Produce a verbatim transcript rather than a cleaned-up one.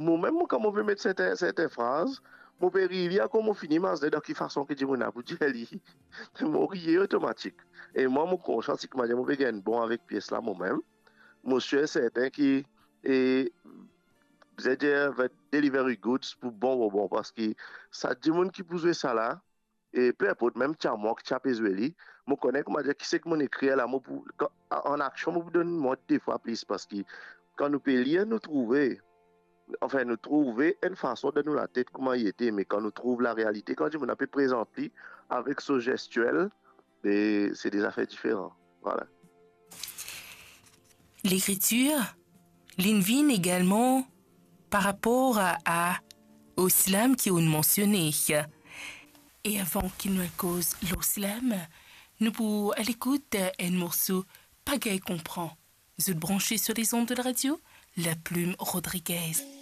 Momem, mo, kan mo pe met sertin, sertin fraz, mo pe riye li, akoz mo fini mazne dan ki fason ki dimoun la pou dir li. Mo riye otomatik. E mwa, mo konsian si ki manier mo pe gagn bon avek pies la momem. Mo sir sertin ki, e, zedir, va deliver goods pou bon, bon, bon, parski sa dimoun ki pou zwe sa la, e pe inport, mem ti a mwa ki ti a pe zwe li, mo kone, kouma dir, ki seki monn ekrir la, mo pou, kan, an aksion, mo pou donn mwa de fwa plis, parski kan nou pe lir, nou trouve, anfin, nou trouve enn fason dan nou latet kouma li ete, me kan nou trouv larealite, kan dimoun la pe prezant li avek so zestiel, be, se de zafer diferan. Vwala. Lekritir, li'nn vinn egalman par rapor a, a, o slam ki ou'nn mansione. E avan ki nou al koz lor slam, nou pou al ekout enn morso Pa gagn konpran. Zot branche sur les ondes de la radio La Plume Rodriguez.